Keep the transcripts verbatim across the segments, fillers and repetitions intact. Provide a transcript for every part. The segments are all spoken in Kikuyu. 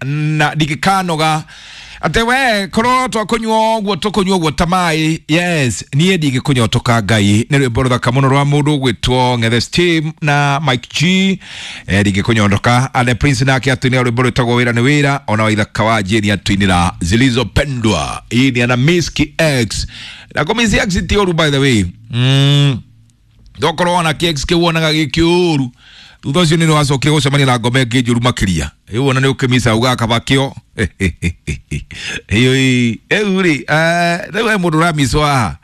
Na ndingĩkanoga atĩ we korwo twakũnyua ũguo tũkũnyua ũguo ta maĩ. Yes, niĩ ndingĩkũnyotoka Ngai. Nĩ rwĩmbo rũthaka mũno rwa mũndũ ũgwĩtwo Ng'ethe Steam na Mike G. eh, ndingĩkũnyotoka. Ane Prince nake atũinĩra rwĩmbo rwĩtagwo Wĩra nĩ Wĩra. Ona Waithaka wa Jane atũinĩra Zilizopendwa. Hii ni ana Miski X na kũmisi X ti ũru, by the way. mm. Ndokorwo ona K X kĩu wonaga gĩkĩũru, thutha ũcio nĩ wacokire gũcemania na ngoma ĩngĩ njũru makĩria. Rĩu ona nĩ ũkĩmica ugaga kaba kĩo ĩu rĩ. Rĩu he mũndũ ũramicwo haha.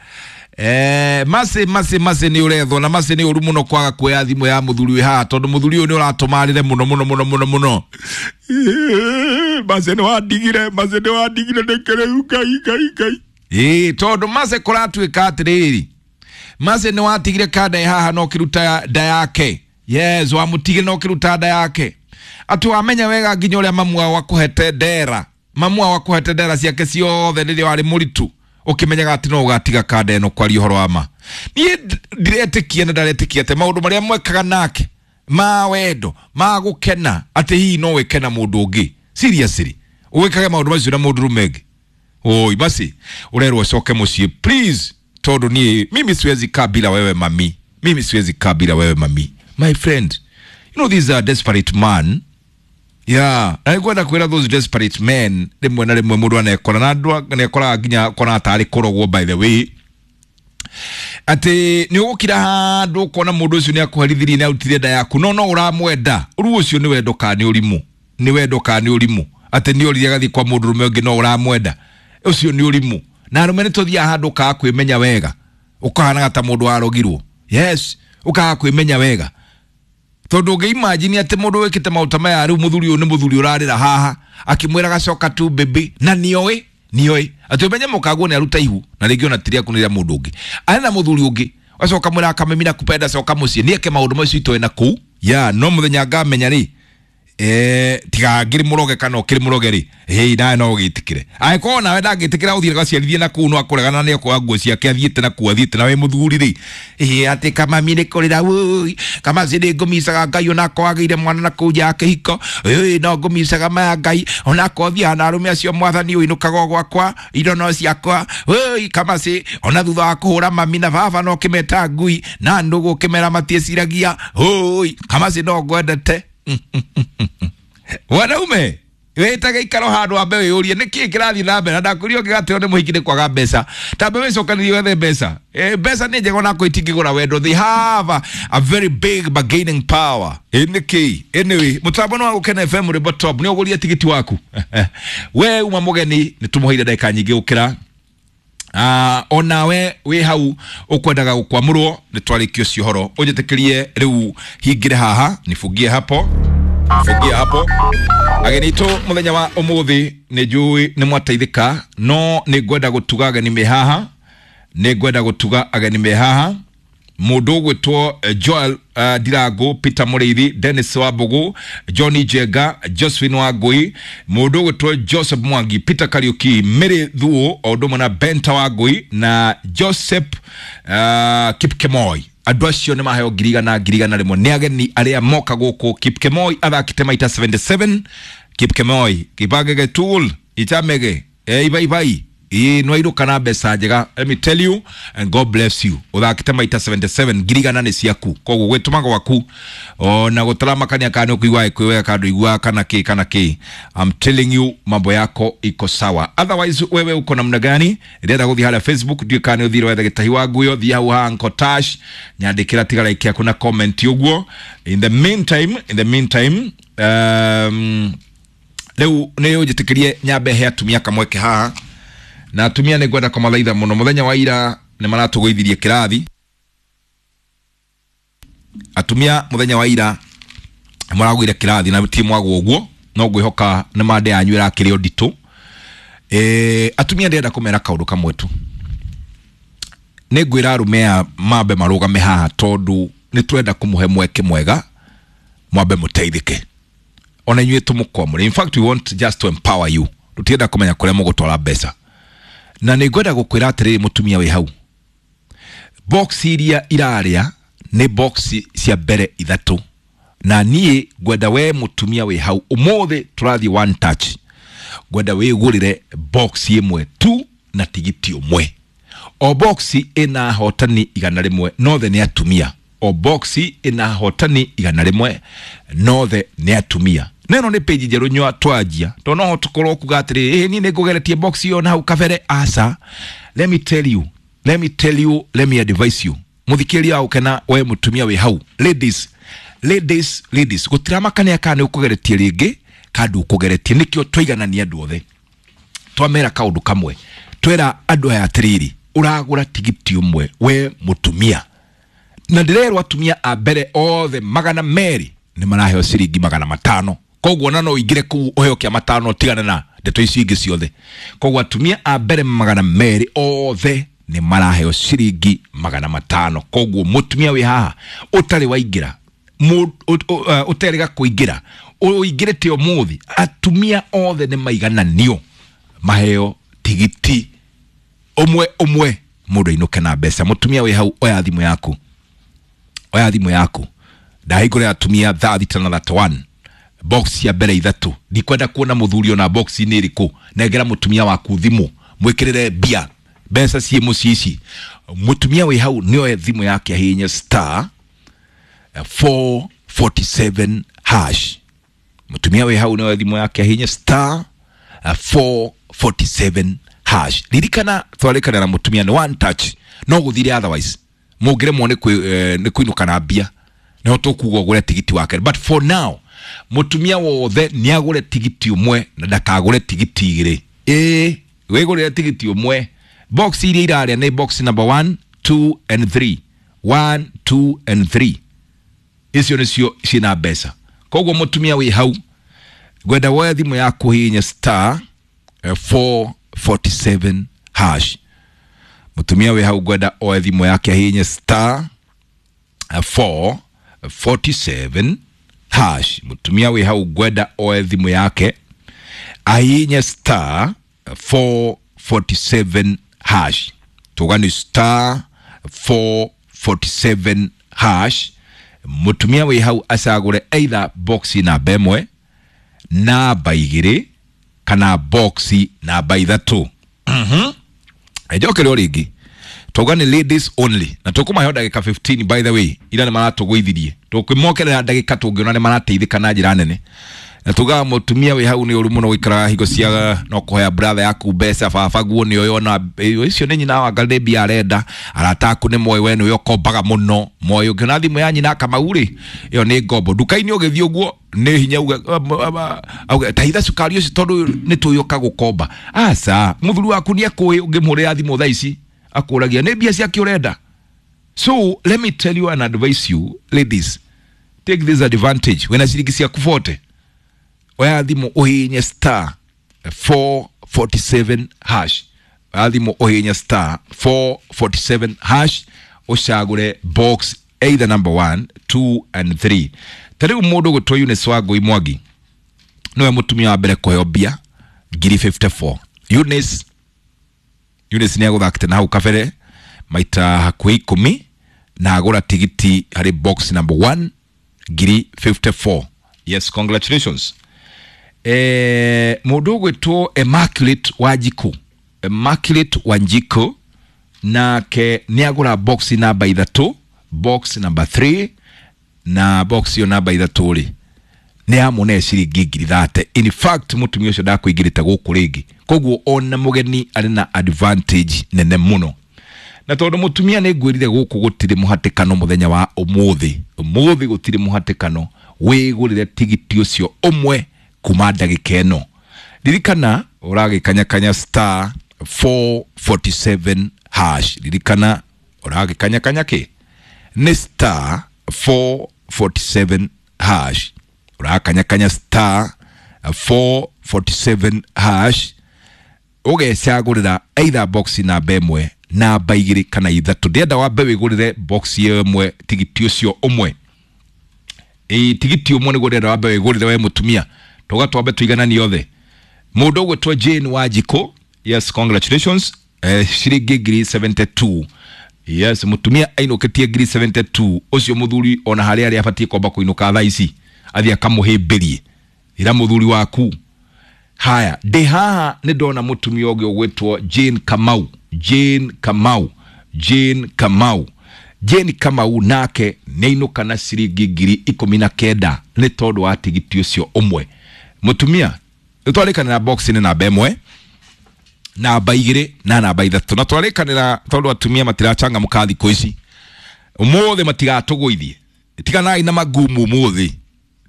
Eh, Masi masi masi nĩ ũrethwo na masi nĩ ũru mũno kwaga kuoya thimũ ya mũthuri wĩ haha, tondũ mũthuri ũyũ nĩ ũratũmarĩre mũno mũno mũno mũno mũno. Masi nĩ wandigire, masi nĩ wandigire nĩkĩ rĩu? Ngai, Ngai, Ngai. Ĩĩ, tondũ mase kũratuĩka atĩrĩrĩ, mase nĩ watigire kanda ĩ haha na ũkĩruta nda yake. Yes, wamũtigire na ũkĩruta nda yake, atĩ wamenya wega nginya ũrĩa mamu wao akũhete ndera, mamu wao akũhete ndera ciake ciothe rĩrĩa warĩ mũritũ, ũkĩmenyaga atĩ no ũgatiga kanda ĩno. Kwaria ũhoro wa ma, niĩ ndiretĩkia na ndaretĩkia atĩ maũndũ marĩa mwekaga nake ma wendo ma gũkena, atĩ hihi no wĩke na mũndũ ũngĩ. Seriously, wĩkage maũndũ macio na mũndũ rũme ũngĩ? Oi, basi urerwo ucoke muciĩ please, tondu niĩ mimi siwezi kaa bila wewe mami, mimi siwezi kaa bila wewe mami. My friend, you know this is a desperate man. Yeah, na nĩngwenda kwĩra those desperate men, rĩmwe na rĩmwe mũndũ anekora na andũ anekoraga nginya kona tarĩ kũrogwo, by the way, atĩ nĩ ũgũkira handũ ũkona mũndũ ũcio nĩ akũherithirie, nĩ arutire nda yaku, no no ũramwenda. Rĩu ũcio nĩ wendo kana nĩ ũrimũ? Nĩ wendo kana nĩ ũrimũ atĩ nĩ orire agathiĩ kwa mũndũ rũme ũngĩ no ũramwenda? Ũcio nĩ ũrimũ. Na arũme nĩ tũthiaga handũ ũkaga kwĩmenya wega, ũkahanaga ta mũndũ warogirwo. Yes, ũkaga kwĩmenya wega, tondũ ũngĩ imagine atĩ mũndũ wĩkĩte maũndũ ta maya, rĩu mũthuri ũyũ nĩ mũthuri ũrarĩra haha akĩmwĩra gacoka tu baby, na nĩoĩ nĩoĩ atĩ ũmenye mũkaguo nĩ aruta ihu na rĩngĩ ona ti rĩaku, nĩ rĩa mũndũ ũngĩ, arĩ na mũthuri ũngĩ, acoka mwĩra akamemina kupenda, coka mũciĩ, nĩeke maũndũ macio itoĩ na kũu ya no mũthenya ngamenya rĩ. Eh, tiga ngĩrĩ mũroge kana ũkĩrĩ mũroge rĩ, hĩ, nawe no ũgĩtĩkĩre. Angĩkorwo nawe ndangĩtĩkĩra ũthiĩ gaciarithie na kũu, no akũregana nĩ akuoya nguo ciake athiĩte na kũu athiĩte na wĩ mũthuri rĩ. Ĩ atĩ kamami nĩ kũrĩra wũi, kamasi nĩ ngũmicaga Ngai, onakorwo agĩire mwana na kũu nja ya kĩhiko. Ĩ no ngũmicaga maya Ngai, onakorwo thiaga na arũme acio, mwathani ũinũkaga o gwakwa, indo no ciakwa. Wũi kamasi, ona thutha wa kũhũra mami na baba no kĩmeta ngui na ndũgũ ũkĩmera matiĩciragia. Ũi kamasi, no ngwendete. Wanaume, wĩtage ikaro handũ wambe wĩyũrie nĩ kĩĩ kĩrathiĩ na mbere. Na ndakũria ũngĩgatĩo nĩ mũhiki nĩ kwaga mbeca, tambe wĩcokanĩrie wethe mbeca. Eh, mbeca nĩ njega onako itingĩgũra wendo. They have a, a very big bargaining power. Ĩ nĩ kĩĩ? Anyway, mũtambo nĩ wa Gũkena F M, rwĩmbo top nĩ ũgũrie tigiti waku. We uma mũgeni, nĩ tũmũheire ndagĩka nyingĩ gũkĩra. Uh, onawe wĩ hau ũkwendaga gũkwamũrwo, nĩ twarĩkia ũcio ũhoro. Ũnjĩtĩkĩrie rĩu hingĩre haha, nifungie hapo, fungie hapo. Ageni itũ mũthenya wa ũmũthĩ, nĩ njũĩ nĩ mwateithĩka, no nĩ ngwenda gũtuga ageni me haha, nĩ ngwenda gũtuga ageni me haha. Mũndũ ũgwĩtwo eh, Joel uh, Ndirangu, Peter Mũrĩithi, Dennis Wambugu, Johnny Jenga, Josephine Wangui, mũndũ ũgwĩtwo Joseph Mwangi, Peter Kariuki, Mary Thuo, o ũndũ ũmwe na Benta Wangui na Joseph uh, Kipkemoi. Andũ acio nĩ maheo ngiri igana, ngiri igana rĩmwe. Nĩ ageni arĩa moka gũkũ. Kipkemoi athakĩte maita mĩrongo mũgwanja na mũgwanja. Kipkemoi kibangege tool ichamege e, ibaibai ĩ nwairũka na mbeca njega, let me tell you, and God bless you. Ũthakĩte maita mĩrongo mũgwanja na mũgwanja, ngiri igana nĩ ciaku. Koguo gwĩtũma gwaku ona gũtaramakania kana nĩ ũkũigua kwĩ wega kana ndũiguaga kana kĩ kana kĩ, I'm telling you, mambo yako iko sawa. Otherwise wewe uko namna gani? Ndĩrenda gũthiĩ harĩa Facebook, ndiũĩ kana nĩ ũthire wethe gĩtahi wa nguyo. Thiĩ hau ha Uncle Tash, nyandĩkĩra, tiga like yaku na comment ũguo. In the meantime, in the meantime, um, rĩu nĩ ũnjĩtĩkĩrie nyambe he atumia kamweke haha. Na atumia nĩ ngwenda kũmathaitha mũno, mũthenya wa ira nĩ maratũgũithirie kĩrathi. Atumia, mũthenya wa ira maragũire kĩrathi na ti mwagwo ũguo, no ngwĩhoka nĩ mande yanyu ĩrakĩrĩ nditũ. Eh, atumia, ndĩrenda kũmera kaũndũ kamwe tu. Nĩ ngwĩra arũme aya mambe marũgame haha, tondũ nĩ twenda kũmũhe mweke mwega mwambe mũteithĩke ona inyuĩ tũmũkwamũre. In fact, we want just to empower you. Tũtienda kũmenya kũrĩa mũgũtwara mbeca. Na nĩ ngwenda gũkwĩra atĩrĩrĩ, mũtumia wĩ hau, box iria irarĩa nĩ box cia mbere ithatũ. Na niĩ ngwenda we mũtumia wĩ hau ũmũthĩ tũrathiĩ one touch, ngwenda wĩgũrĩre box ĩmwe tu na tigiti ũmwe. O box ĩna hotani igana rĩmwe, nothe nĩ atumia. O box ĩna hotani igana rĩmwe, nothe nĩ atumia. Na ĩno nĩ page njerũ nyua twanjia, tondũ no tũkorwo kuga atĩrĩrĩ, ĩ niĩ nĩ ngũgeretie box ĩyo na hau kabere. Aca, let me tell you, let me tell you, let me advise you, mũthikĩrĩria wa gũkena, we mũtumia wĩ hau, ladies, ladies, ladies, gũtiramakania kana nĩ ũkũgeretie rĩngĩ kana ndũkũgeretie. Nĩkĩo twaiganania andũ othe, twamera kaũndũ kamwe, twera andũ aya atĩrĩrĩ, ũragũra tigiti ũmwe we mũtumia, na ndĩrerwo atumia a mbere othe magana merĩ nĩ maraheo ciringi magana matano. Koguo ona no ũingĩre kũu ũheo kĩa matano, tigana na ndeto icio ingĩ ciothe. Koguo atumia a mbere magana merĩ othe nĩ maraheo ciringi magana matano. Koguo mũtumia wĩ haha ũtarĩ waingĩra, ũterĩga kũingĩra, ũingĩrĩte ũmũthĩ, atumia othe nĩ maigananio maheo tigiti ũmwe ũmwe, mũndũ ainũke na mbeca. Mũtumia wĩ hau, oya thimũ yaku, oya thimũ yaku. Ndahingũrĩra atumia thaa thita na thirty one, box ya mbere ithatũ. Ndikwenda kuona mũthuri ona box nĩ ĩrĩkũ. Nengera mũtumia waku thimũ, mwĩkĩrĩre mbia, mbeca ciĩ mũciĩ ici. Mũtumia wĩ hau nĩoe thimũ yake ahihinye star four forty seven hash. Mũtumia wĩ hau nĩoe thimũ yake ahihinye star four forty seven hash. Ririkana twarĩkana na mũtumia nĩ one touch, no gũthire otherwise mũngĩremwo nĩ nĩ kũinũka na mbia, no tũkuga ũgũre tigiti wake. But for now mũtumia wothe nĩ agũre tigiti ũmwe na ndakagũre tigiti igĩrĩ. Ĩĩ, wĩgũrĩre tigiti ũmwe. Box iria irarĩa nĩ box number one, two and three. one, two and three. Icio nĩcio ciĩna mbeca. Koguo mũtumia wĩ hau, ngwenda woe thimũ yaku hihinye star four forty seven hash. Mũtumia wĩ hau ngwenda oe thimũ yake ahihinye star four forty seven hash. Mũtumia wĩ hau ngwenda oe thimũ yake ahihinye star four forty seven hash. Tuga ni star four forty seven hash. Mũtumia wĩ hau acagũre either box namba ĩmwe, namba igĩrĩ kana box namba ithatũ. Mhm. Njokere o rĩngĩ, tuga ni ladies only, na tũkũmahe ndagĩka fifteen, by the way, ira nĩ maratũgũithirie, tũkĩmokerera ndagĩka tũngĩona nĩ marateithĩka na njĩra nene. Na tugaga mũtumia wĩ hau nĩ ũru mũno gũikaraga hingo cia no kũhoya brother yaku mbeca, baba guo nĩ ũyũ, ona icio nĩ nyina wa ngarĩ mbia arenda, arata aku nĩ moĩ we nĩwe ũkombaga mũno, moĩ ũngĩona thimũ ya nyina Kamau rĩ, ĩyo nĩ ngombo. Nduka-inĩ ũgĩthiĩ ũguo nĩ hinya uge, auge tahitha cukari ũcio tondũ nĩ tũĩ ũka gũkomba. Aca, mũthuri waku nĩ ekũĩ, ũngĩmũhũrĩra thimũ thaa ici akũragia nĩ mbia ciake ũrenda. So let me tell you and advise you ladies, take this advantage. Wĩna ciringi ciaku forty, oya thimũ ũhihinye star four forty seven hash. Oya thimũ ũhihinye star four forty seven hash, ũcagũre box either number one, two and three. Ta rĩu mũndũ ũgwĩtwo Eunice Wangũi Mwangi nĩwe mũtumia wa mbere kũheo mbia ngiri fifty four. Eunice, Eunice nĩ agũthakĩte na hau kabere maita hakuhĩ ikũmi na agũra tigiti harĩ box number one ngiri fifty four. Yes, congratulations. Eh, mũndũ ũgwĩtwo Immaculate Wanjiku, Immaculate Wanjiku nake nĩ agũra box namba ithatũ, box number three, na box ĩyo namba ithatũ rĩ nĩ amũne ciringi ngiri thate. In fact mũtumia ũcio ndakũingĩrĩte gũkũ rĩngĩ, koguo ona mũgeni arĩ na advantage nene mũno. Na tondũ mũtumia nĩ ngwĩrire gũkũ gũtirĩ mũhatĩkano mũthenya wa ũmũthĩ, ũmũthĩ gũtirĩ mũhatĩkano, wĩgũrĩre tigiti ũcio ũmwe kuma ndagĩka ĩno. Ririkana ũragĩkanyakanya star four forty seven hash. Ririkana ũragĩkanyakanya kĩ? Nĩ star four forty seven hash. Ũrakanyakanya star four forty seven hash, ũgecagũrĩra either box namba ĩmwe, namba igĩrĩ kana ithatũ. Ndĩrenda wambe wĩgũrĩre box ĩmwe tigiti ũcio ũmwe. Ĩ, tigiti ũmwe nĩguo ndĩrenda wambe wĩgũrĩre we mũtumia, tũga twambe tũigananie othe. Mũndũ ũgwĩtwo Jane Wanjikũ, yes, congratulations, eh, ciringi ngiri seventy two Yes, mutumia ainũkĩtie ngiri mĩrongo mũgwanja na igĩrĩ. Ũcio mũthuri ona harĩa arĩa abatiĩ kwamba kũinũka thaa ici athiĩ akamũhĩmbĩrie. Ĩra mũthuri waku haya, ndĩ haha nĩ ndona mũtumia ũngĩ ũgwĩtwo Jane Kamau. Jane Kamau, Jane Kamau, Jane Kamau nake nĩ ainũka na ciringi ngiri ikũmi na kenda nĩ tondũ wa tigiti ũcio ũmwe. Mũtumia, nĩ twarĩkanĩra box nĩ namba ĩmwe, namba igĩrĩ na namba ithatũ, na twarĩkanĩra tondũ atumia matirachangamũka thikũ ici, ũmũthĩ matigatũgũithie. Tiganai na magumu ũmũthĩ,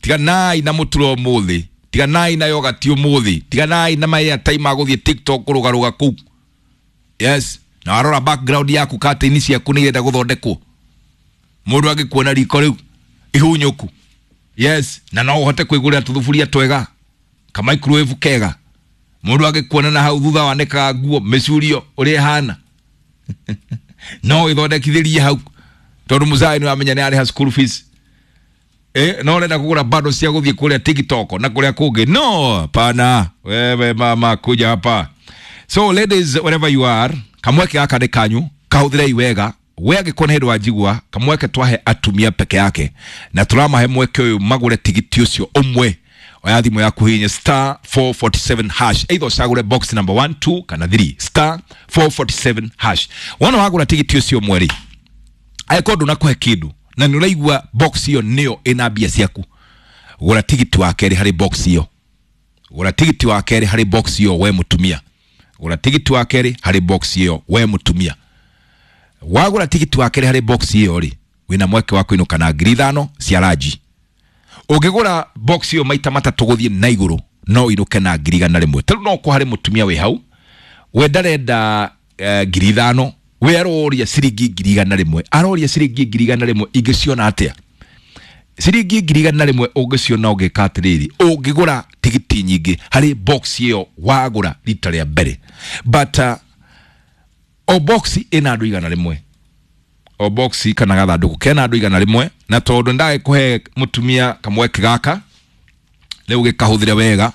tiganai na mũturo ũmũthĩ, tiganai na yogati ũmũthĩ, tiganai na ma-airtime ma gũthiĩ TikTok kũrũgarũga kũu. Yes, na warora background yaku, curtain ciaku nĩ irenda gũthondekwo, mũndũ angĩkuona riko rĩu ihunyũku. Yes, na no ũhote kwĩgũrĩra tũthuburia twega, ka microwave kega. Mũndũ angĩkuona na hau thutha wanĩkaga nguo mĩcurio ũrĩa ĩhana, no ĩthondekithĩrie hau tondũ mũzai nĩ wamenya nĩ arĩha school fees. Eh, no ũrenda kũgũra bado cia gũthiĩ kũrĩa TikTok na kũrĩa kũngĩ. No pana, wewe mama, kuja hapa. So ladies, wherever you are, kamweke gaka nĩ kanyu, kahũthĩrei wega. We angĩkorwo nĩ hĩndĩ wanjigua, kamweke twahe atumia peke yake na tũramahe mweke ũyũ magũre tigiti ũcio ũmwe. Oya thimũ yaku, hihinya star four four seven hash, either ũcagũre box number one, two kana three, star four four seven hash. Wona wagũra tigiti ũcio ũmwe rĩ, angĩkorwo ndũnakũhe kĩndũ na nĩ ũraigua box ĩyo nĩyo ĩna mbia ciaku, gũra tigiti wa kerĩ harĩ box ĩyo. Gũra tigiti wa kerĩ harĩ box ĩyo, we mũtumia. Gũra tigiti wa kerĩ harĩ box ĩyo, we mũtumia. Wagũra tigiti wa kerĩ harĩ box ĩyo rĩ, wĩna mweke wa kũinũka na ngiri ithano cia ranji. Ũngĩgũra box ĩyo maita matatũ gũthiĩ na igũrũ, no ũinũke na ngiri igana rĩmwe. Tarĩu no kwa harĩ mũtumia wĩ hau, we ndarenda eh, ngiri ithano, we aroria ciringi ngiri igana rĩmwe. Aroria ciringi ngiri igana rĩmwe, ingĩciona atĩa ciringi ngiri igana rĩmwe? Ũngĩciona ũngĩka atĩrĩrĩ, ũngĩgũra tigiti nyingĩ harĩ box ĩyo wagũra rita rĩa mbere. But uh, o box ĩna andũ igana rĩmwe, o box kana gathandũkũ kena andũ igana rĩmwe. Na tondũ ndagĩkũhe mũtumia kamweke gaka rĩu, gĩkahũthĩre wega.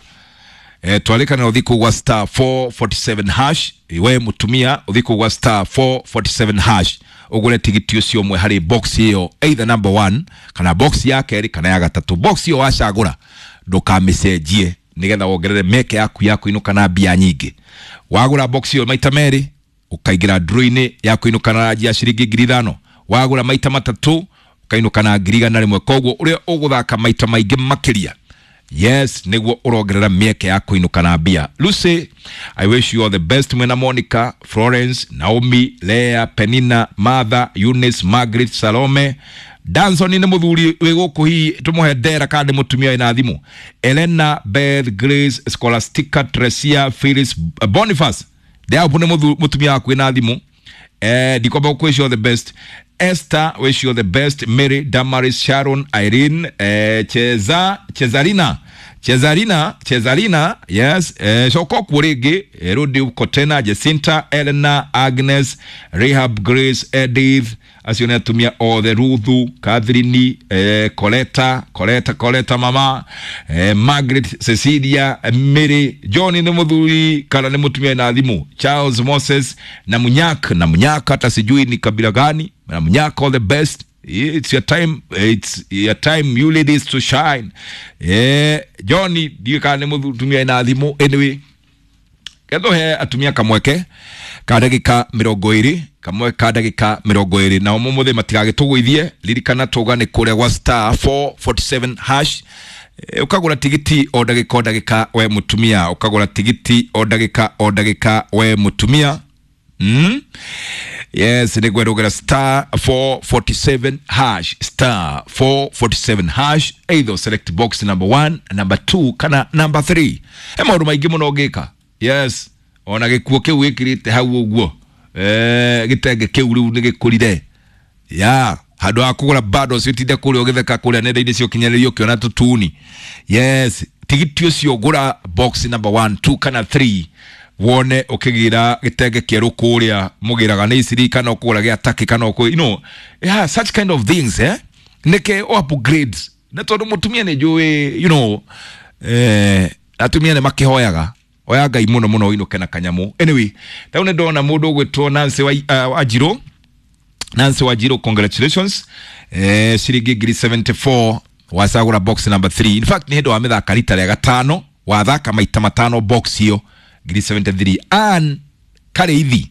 eh, twarĩkanĩra ũthiĩ kũu gwa star four four seven hash. We mũtumia, ũthiĩ kũu gwa star four four seven hash, ũgũre tigiti ũcio ũmwe harĩ box ĩyo, either number one kana box ya kerĩ kana ya gatatũ. Box ĩyo wacagũra, ndũkamĩcenjie, nĩgetha wongerere meke yaku ya kũinũka na mbia nyingĩ. Wagũra box ĩyo maita merĩ, ũkaingĩra draw-inĩ ya kũinũka na ranji ya ciringi ngiri ithano. Wagũra maita matatũ, ũkainũka na ngiri igana rĩmwe. Koguo ũrĩa ũgũthaka maita maingĩ makĩria, yes, nĩguo ũrongerera mĩeke ya kũinũka na mbia. Lucy, I wish you all the best mwena Monica, Florence, Naomi, Lea, Penina, Martha, Eunice, Margaret, Salome, Danson nĩ mũthuri wĩ gũkũ, hihi tũmũhe ndera kana nĩ mũtumia wĩna thimũ, Elena, Beth, Grace, Scholastica, Tresia, Phyllis, Boniface Ndeapo nĩ mũthu- mũtumia waku wĩna thimũ. eh, ndikwamba wish you all the best. Esther, wish you all the best. Mary, Damaris, Sharon, Irene, eh, Cheza, Chezarina, Chezarina, Chezarina, yes, eh, coka kuo rĩngĩ, eh, Rudi uko tena, Jacinta, Elena, Agnes, Rahab, Grace, Edith, acio nĩ atumia othe, Ruthu, Catherine, eh, Coleta, Coleta, Coleta mama, eh, Margaret, Cecilia, eh, Mary, John nĩ mũthuri kana nĩ mũtumia na thimũ, Charles, Moses na Munyak, na Munyak hata sijui ni kabila gani, na Munyak, all the best. It's your time, it's your time, you ladies, to shine. Eh, John ndiũĩ kana nĩ mũtumia na thimũ. Anyway, kethuhe atumia kamweke ka ndagĩka mĩrongo ĩrĩ, kamwe ka ndagĩka mĩrongo ĩrĩ, nao mũmũthĩ matigagĩtũgũithie. Ririkana tũga nĩ kũrĩa gwa star four four seven hash. Eh, ũkagũra tigiti o ndagĩka o ndagĩka, we mũtumia. Ũkagũra tigiti o ndagĩka o ndagĩka, we mũtumia. Mm? Yes, nĩ ngwerũgĩra star four four seven hash, star four four seven hash, either select box number one, number two kana number three. He maũndũ maingĩ mũno ũngĩka. Yes, ona gĩkuo kĩu wĩkĩrĩte hau ũguo, eh, gĩtenge kĩu rĩu nĩ gĩkũrire ya handũ ha kũgũra bado ũcio ũtinde kũrĩa ũgĩtheka kũrĩa nenda-inĩ cia ũkinyanĩria ũkĩona tũtuni. Yes, tigiti ũcio gũra box number one, two kana three, wone ũkĩgĩra gĩtenge kĩerũ kũrĩa mũgĩraga nĩ iciri kana ũkũgũra gĩa taki kana ũkũ, you know yeah, such kind of things, eh nĩke o upgrade na tondũ mũtumia nĩ njũĩ, you know eh, atumia nĩ makĩhoyaga oya Ngai mũno mũno ũinũke na kanyamũ. Anyway, rĩu nĩ ndona mũndũ ũgwĩtwo Nancy wa, uh, Wanjirũ. Nancy Wanjiru, congratulations, eh, ciringi ngiri seventy-four wacagũra box number three. In fact nĩ hĩndĩ wamĩthaka rita rĩa gatano, wathaka maita matano box ĩyo ngiri seventy-three. Ann Kareithi,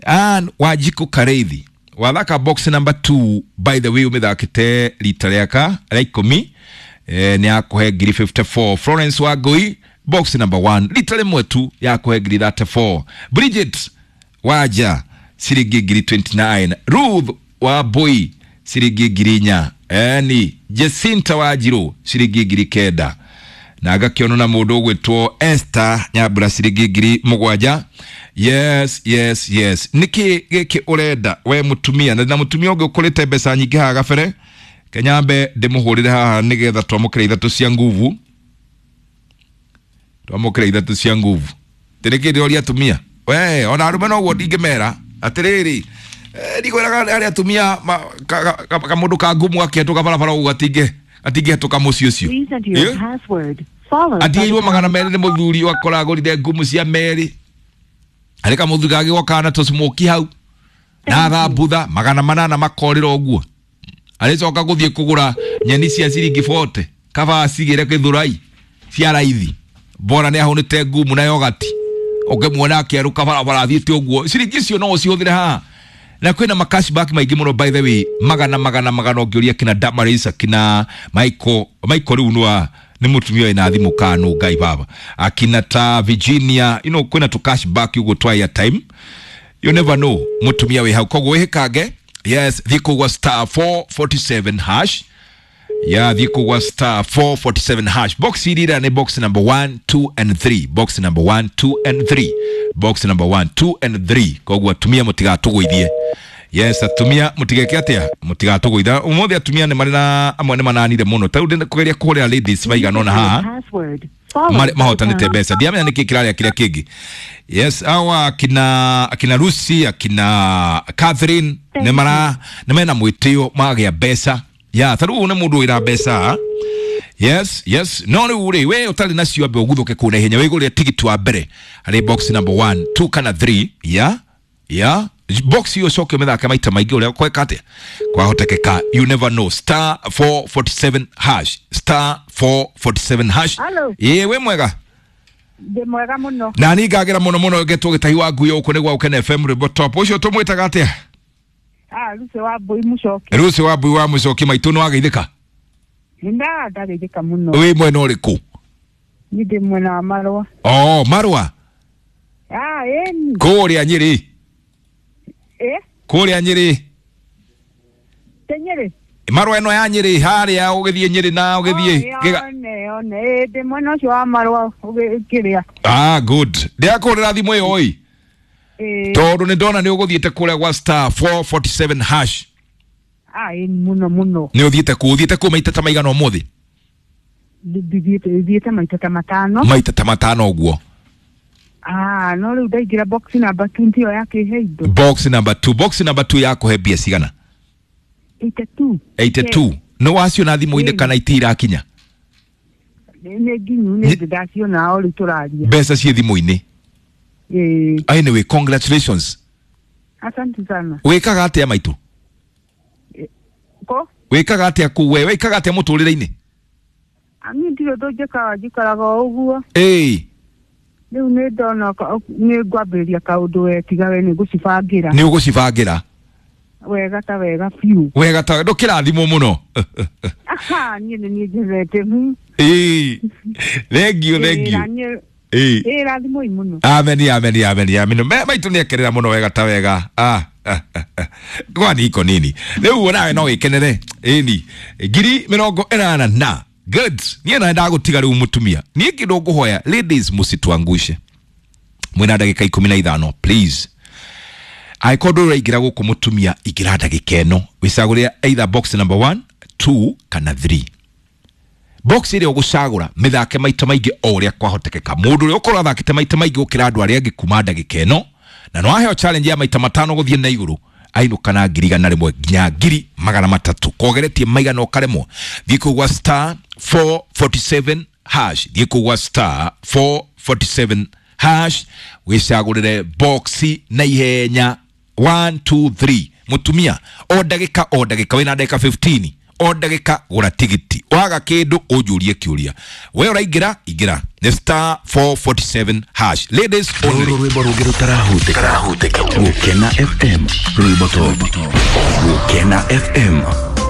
Ann Wanjiku Kareithi, wathaka box number two, by the way ũmĩthakĩte rita rĩaka rĩa ikũmi, eh, nĩ yakũhe ngiri fifty-four. Florence Wangui, box number one, rita rĩmwe tu yakũhe ngiri thirty-four. Bridget Waja ciringi ngiri twenty-nine. Ruth Wambui ciringi ngiri inya. Eni Jacinta Wanjiru ciringi ngiri kenda. Na ngakĩonwo na mũndũ ũgwĩtwo Esther Nyambura ciringi ngiri mũgwanja. Yes, yes, yes. Nĩkĩ gĩkĩ ũrenda we mũtumia? Na na mũtumia ũngĩ ũkũrĩte mbeca nyingĩ haha gabere, kenyambe ndĩmũhũrĩre haha nĩgetha twamũkĩre ithatũ cia nguvu, twamũkĩre ithatũ cia nguvu. Tĩrĩkĩ ndĩroria atumia we ona arũme noguo ndingĩmera atĩrĩrĩ, ndikwĩraga arĩa atumia kamũndũ ka ngumu gakĩhetũka barabara ũguo gatingĩ gatingĩhetũka mũciĩ ũcio. Atigĩirwo magana merĩ nĩ mũthuri wakora agũrire ngumu cia merĩ, arĩ kamũthuri gagĩgoka na tũcimoki hau na thambutha magana manana makorĩra ũguo, arĩcoka gũthiĩ kũgũra nyeni cia ciringi forty kaba acigĩre gĩthũrai cia raithi, bora nĩ ahũnĩte ngumu na yogati, ũkĩmuona akĩerũka barabara athiĩte ũguo. Ciringi icio no ũcihũthĩre haha, na kwĩna ma cashback maingĩ mũno by the way, magana magana magana ũngĩũria kina Damaris, kina Michael Michael rĩu nĩ nĩ mũtumia wĩna thimũ kanu ngai baba, akina ta Virginia, you know, kwĩna tũ cashback ũguo twa airtime, you never know mũtumia wĩ hau, koguo wĩhĩkange. Yes, thiĩ kũgwa star four forty-seven hash, ya thiĩ kũgwa star four forty-seven hash. Box irira nĩ box number one, two and three, box number one, two and three, box number one, two and three. Koguo atumia mũtigatũgũithie. Yes, atumia mũtigeke atĩa, mũtigatũgũitha ũmũthĩ. Atumia nĩ marĩ na amwe nĩ mananire mũno, ta rĩu ndĩ kũgeria kũhũrĩra ladies maigana ũna haha mahotanĩte mbeca, ndiamenya nĩkĩ kĩrarĩa kĩrĩa kĩngĩ. Yes, awa akina akina Lucy, akina Catherine nĩ mara nĩ mena mwĩtĩo magĩa mbeca ya ta rĩu nĩ mũndũ wĩra mbeca. Yes, yes. No rĩu rĩ we ũtarĩ nacio ambe ũguthũke kũu na ihenya wĩgũrĩre tigiti wa mbere harĩ box number one, two kana three. Ya ya box hiyo ũcoke ũmĩthake maita maingĩ ũrĩa kweka atĩa kwahotekeka, you never know. Star four forty-seven hash, star four forty-seven hash. Ĩĩ wĩ mwega? Ndĩ mwega mũno. Na niĩ ngagĩra mũno mũno ngetwo gĩtahi wa ngui gũkũ nĩ gwa Ũkene F M Rwĩmbo Top. Ũcio tũmwĩtaga atĩa? Ah, Lucy Wambui Mũcoki. Lucy Wambui wa Mũcoki maitũ nĩ wageithĩka? Nda ndageithĩka mũno. Wĩ mwena ũrĩkũ? Niĩ ndĩ mwena wa Marũa. Oh, Marũa? Ah, ĩni. Kũrĩa Nyĩrĩ? Eh? Kũrĩa Nyĩrĩ? Te Nyĩrĩ? Marũa ĩno ya Nyĩrĩ harĩa ũgĩthiĩ Nyĩrĩ na ũgĩthiĩ Gĩga... One, one, ĩ ndĩ mwena ũcio wa Marũa ũgĩkĩrĩa. Ah, good. Ndĩrakũhũrĩra thimũ ĩyo ĩ. Tondũ nĩ ndona nĩ ũgũthiĩte kũrĩa gwa star four forty-seven hash. Ah, ĩ mũno mũno. Nĩ ũthiĩte kũ, ũthiĩte kũ maita ta maigana ũmũthĩ? Ndithiĩte thiĩte maita ta matano. Maita ta matano ũguo. Ah, no rĩu ndaingĩra box number two ndio yakĩhe indo. Box number two, box number two yakũhe mbia cigana? eighty-two. eighty-two. Nĩ waciona thimũ-inĩ kana itirakinya? Nĩ nginyu nĩ ndaciona o rĩu tũraria. Mbeca ciĩ thimũ-inĩ. Eh. Anyway, congratulations. Asante sana. Wĩkaga atĩa maitũ? Ko? Wĩkaga atĩa kũu we? Wĩkaga atĩa mũtũrĩre-inĩ? Niĩ ndirĩ ũndũ njĩkaga, njikaraga o ũguo. Ĩĩ. Rĩu nĩ ndona nĩ ngwambĩrĩria kaũndũ we tiga we nĩ ngũcibangĩra. Nĩ ũgũcibangĩra? Wega ta wega biũ. Wega ta ndũkĩrathimwo mũno. Aha, niĩ nĩ niĩ njethete. Ĩĩ. Thank you, thank you. Ĩĩ. Ĩĩ rathimoi mũno. Amen, amen, amen, amen. Maitũ nĩ ekerera mũno wega ta wega. Ah. Kwani iko nini? Rĩu nawe no wĩkenere. Ĩni. Ngiri mĩrongo ĩnana na. Good. Niĩ na ndagũtiga rĩu mũtumia. Niĩ kĩndũ ngũhoya, ladies mũsituangushe. Mwĩna ndagĩka ikũmi na ithano, please. Angĩkorwo ndũraingĩra gũkũ mũtumia, ingĩra ndagĩka ĩno. Wĩcagũrĩre either box number one, two kana three. Box ĩrĩa ũgũcagũra mĩthake maita maingĩ o ũrĩa kwahotekeka. Mũndũ ũrĩa ũkorwo athakĩte maita maingĩ gũkĩra andũ arĩa angĩ kuma ndagĩka ĩno, na no aheo challenge ya maita matano gũthiĩ na igũrũ, ainũka na ngiri igana rĩmwe nginya ngiri magana matatũ. Kogeretie maigana ũkaremwo. Thiĩ kũu gwa star four forty-seven hash. Thiĩ kũu gwa star four forty-seven hash wĩcagũrĩre box na ihenya one two three. Mutumia o ndagĩka o ndagĩka wĩna ndagĩka fifteen o ndagĩka gũra tigiti waga kĩndũ ũnjũrie kĩũria we ũraingĩra ingĩra nĩ star four forty-seven hash. Ladies only. Rũrũ rwĩmbo rũngĩ rũtarahutĩka. Gũkena F M rwĩmbo top. Gũkena F M.